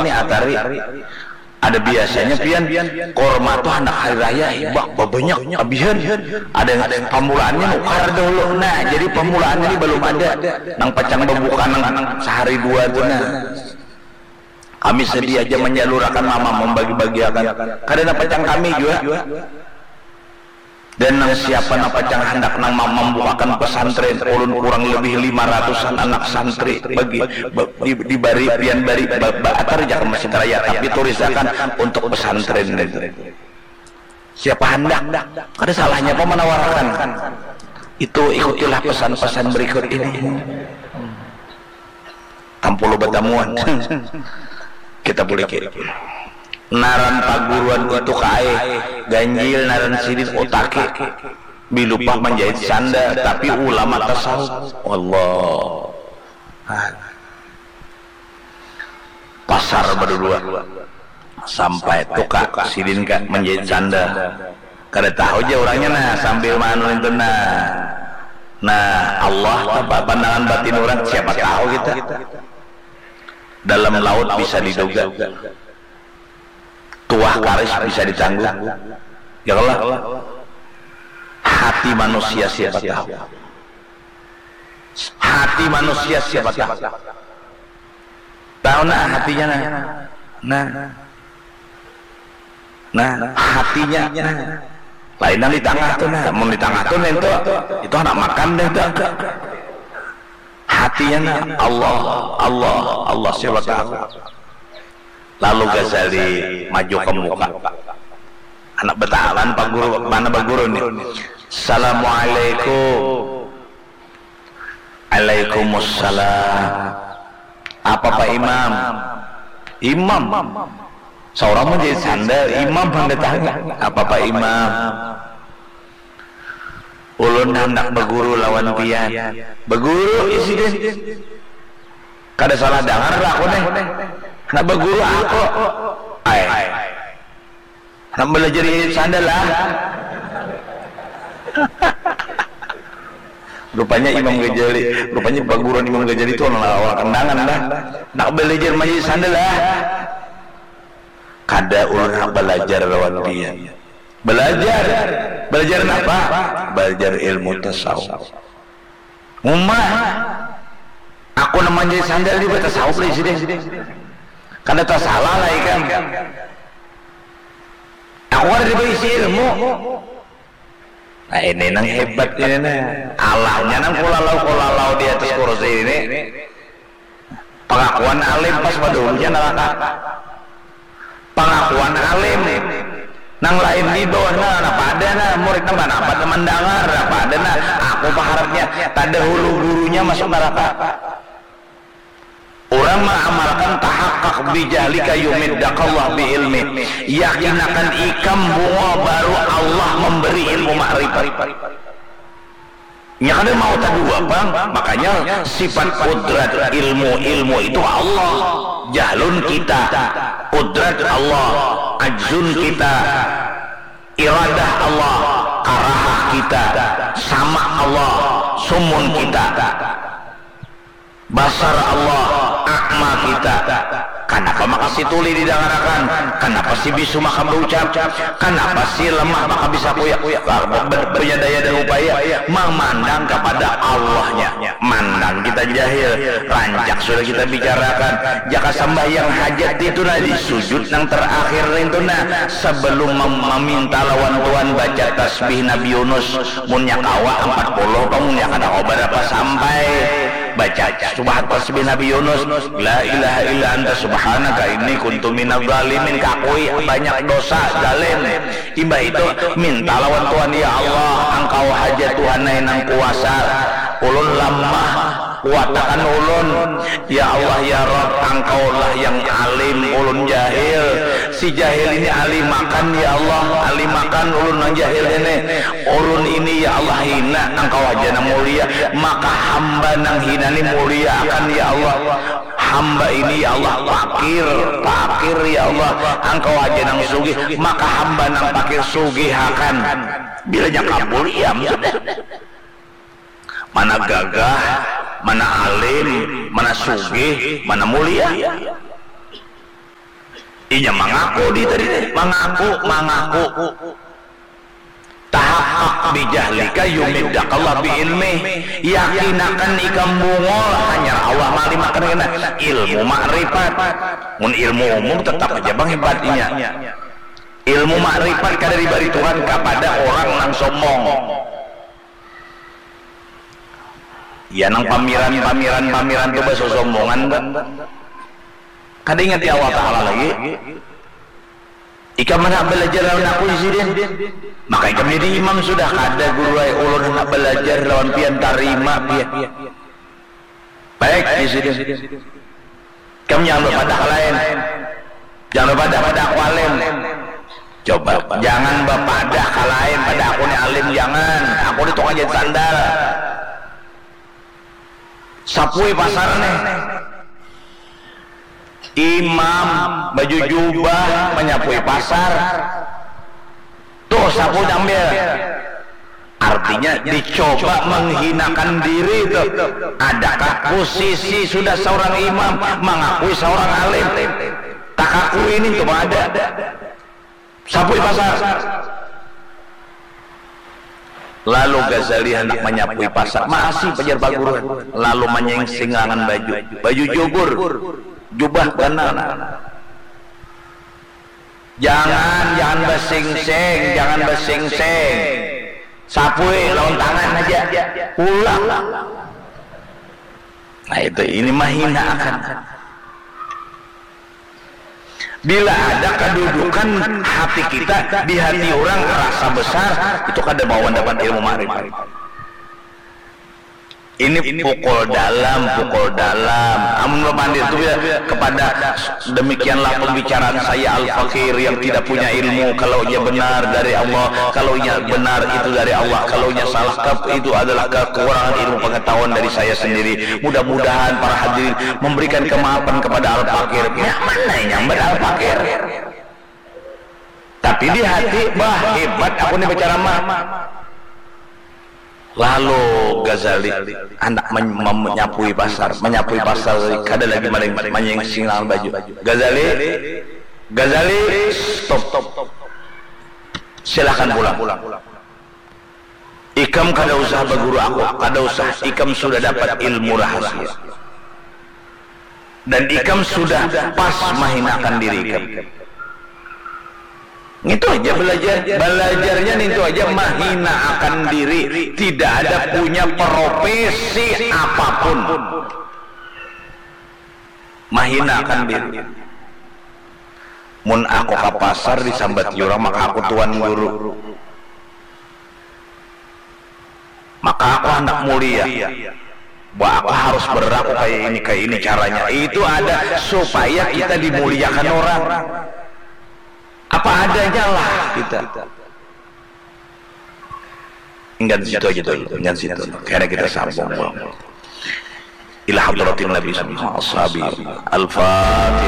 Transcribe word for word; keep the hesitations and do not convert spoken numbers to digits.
atari. Ada biasanya pian, korma tuh handak hari raya, hibak babanyak, abihan. Ada yang pamulaannya nukar dahulu. Nah, jadi pamulaannya ini balum ada. Nang pacang babuka nang sahari dua tuh, nah. Kami sedih aja manyalurakan mama, mambagi-bagiakan. Kada nang pacang kami jua. Dan nang siapa nang pacang handak nang ma-, mambukakan pesantren, ulun kurang lebih lima ratusan anak santri bagi, ba-, di-, dibari, pian bari, ba-, ba-, atar ja ka masjid raya, tapi turisakan untuk pesantren. Siapa handak? Kada salahnya apa manawarakan? Itu, ikutilah pesan-pesan berikut ini. Tampulu batamuan. Kita buliki. Naran paguruan itu kaai, ganjil naran sidin utaki. Bilupah manjahit sandal, tapi ulama tasawuf. Allah. Pasar badudua. Sampai tuka sidin ka manjahit sandal. Kada tahu ja urangnya, nah, sambil maanu itu, nah. Nah, Allah, apa pandangan batin urang, siapa tahu kita. Dalam laut bisa diduga. Tuah karis bisa ditanggung. Ya Allah. Hati manusia siapa tahu. Hati manusia siapa tahu. Tahu nah hatinya, nah. Nah. Nah, hatinya, nah. Lain nang di tangah tuh, nah. Mun di tangah tuh, nah, itu, itu anak makan deh tuh. Hatinya, nah, Allah, Allah, Allah, siapa tahu. Lalu Ghazali maju ke muka. Anak betalan Pak Guru, mana Pak Guru nih? Assalamualaikum. Alaikumussalam. Apa Pak Imam? Imam. Seorang menjadi sandal, imam datang. Apa Pak Imam? Ulun handak baguru lawan pian. Baguru, ya sidin. Kada salah dangar lah aku nih. Handak baguru aku. Ai. Handak balajar jahit sandal lah. Rupanya Imam Ghazali, rupanya paguruan Imam Ghazali itu orang, orang Kandangan lah. Handak balajar manjahit sandal lah. Kada, ulun handak balajar lawan pian. Balajar. Balajar napa? Balajar ilmu tasawuf. Uma, aku nang manjahit sandal jua batasawuf lah sidin. Kada tasalah lah ikam. Aku kada dibaisi ilmu. Nah, ini nang hebat ini nah. Allahnya nang kulalau-kulalau di atas kursi ini. Pangakuan alim pas badahulunya naraka. Pangakuan alim. Nang lain di bawah nah, napa ada nah, murid nang mana apa teman dangar, napa ada nah, aku paharapnya tadahulu gurunya masuk naraka. Urang maamalkan tahakkak bijahlika yumiddakallah bi ilmi, yakinakan ikam bungul baru Allah memberi ilmu makrifat. Nya kada mau tadua pang, makanya sifat kudrat ilmu, ilmu itu Allah. Jahlun kita, kudrat Allah, ajzun kita, iradah Allah, karahah kita, sama Allah, sumun kita, basar Allah, a'ma kita. Kanapa maka si tuli didangarakan? Kanapa si bisu maka baucap? Kanapa si lamah maka bisa kuyak? Ber-, ber-, berdaya dan upaya mamandang kepada Allahnya. Mandang kita jahil, rancak sudah kita bicarakan. Jaka sambahyang hajat itu nah, di sujud nang terakhir itu nah, sebelum mem-, meminta lawan Tuhan baca tasbih Nabi Yunus, munnya kawa empat puluh, munnya kada kawa berapa sampai. Baca subhat tasbih Nabi Yunus, la ilaha illa anta subhanaka inni kuntu minadh dhalimin, kakui banyak dosa, zalim. Imbah itu minta lawan Tuhan, ya Allah, Engkau haja Tuhan ai nang kuasa, ulun lamah, kuatakan ulun. Ya Allah, ya Rabb, Engkaulah yang alim, ulun jahil. Si jahil ini alimakan, ya Allah, alimakan ulun nang jahil ini. Ulun ini, ya Allah, hina, Engkau haja nang mulia. Maka hamba nang hina ni muliakan, ya Allah. Hamba ini, ya Allah, pakir, pakir, ya Allah. Engkau haja nang sugih, maka hamba nang pakir sugihakan. Bilanya kabul, iam sudah. Mana gagah, mana alim, mana sugih, mana mulia. Inya mangaku di tadi, mangaku, mangaku. Tahakak bijahlika yumiddakallah biilmih. Yakinakan ikam bungul, hanyar Allah malimakan kena ilmu makrifat. Mun ilmu umum tetap aja bang hebatnya. Ilmu makrifat kada dibari Tuhan kapada orang nang sombong. Ya nang pamiran, pamiran, pamiran tu basosombongan kan. Kada ingat ya Allah Ta'ala lagi. Ikam mana belajar lawan aku sidin. Maka ikam jadi imam sudah kada guru ai ulun hendak belajar lawan pian tarima pian. Baik di sidin. Ikam jangan berpadah ke lain. Jangan berpadah pada aku alim. Coba, jangan berpadah ke lain pada aku ni alim, jangan. Aku ni tukang jahit sandal. Sapui pasar nih. Imam baju jubah menyapui pasar. Tuh sapu jambil. Artinya dicoba menghinakan diri tuh. Adakah posisi sudah seorang imam mengakui seorang alim? Tak akui ini tuh ada. Sapui pasar. Lalu Ghazali hendak menyapui pasar, masih pajar paguruan. Lalu menyengsing langan baju, baju jubur, jubah ganal. Jangan, jangan basingsing, jangan basingsing. Sapui lawan tangan aja. Pulang. Nah itu, ini mahina akan. Bila ada kedudukan hati kita di hati orang rasa besar, itu kada mau mendapat ilmu makrifat. Ini pukul dalam, pukul dalam. Amun bapandir tu ya kepada demikianlah pembicaraan saya al-fakir yang tidak punya ilmu. Kalau ia benar dari Allah, kalau ia benar itu dari Allah, kalau ia salah itu adalah kekurangan ilmu pengetahuan dari saya sendiri. Mudah-mudahan para hadirin memberikan kemaafan kepada al-fakir. Ya mana yang benar al-fakir? Tapi di hati, bah hebat aku ni berceramah. Lalu Ghazali anak menyapui pasar, menyapui pasar kada lagi maling, menyengsing langan baju. Ghazali, Ghazali, stop. Silahkan pulang. Ikam kada usah baguru aku, kada usah. Ikam sudah dapat ilmu rahasia. Dan ikam sudah pas mahinakan diri ikam. Itu aja belajar. Belajarnya itu aja mahina akan diri. Tidak ada punya profesi apapun. Mahina akan diri. Mun aku ke pasar disambat orang maka aku tuan guru. Maka aku hendak mulia. Bah aku harus berlaku kayak ini, kayak ini caranya. Itu ada supaya kita dimuliakan orang. Apa adanya lah kita. Enggan situ aja dulu, enggan situ. Karena kita sambung bang. Ila hadratin Nabi sama ashabi. Al-Fatihah.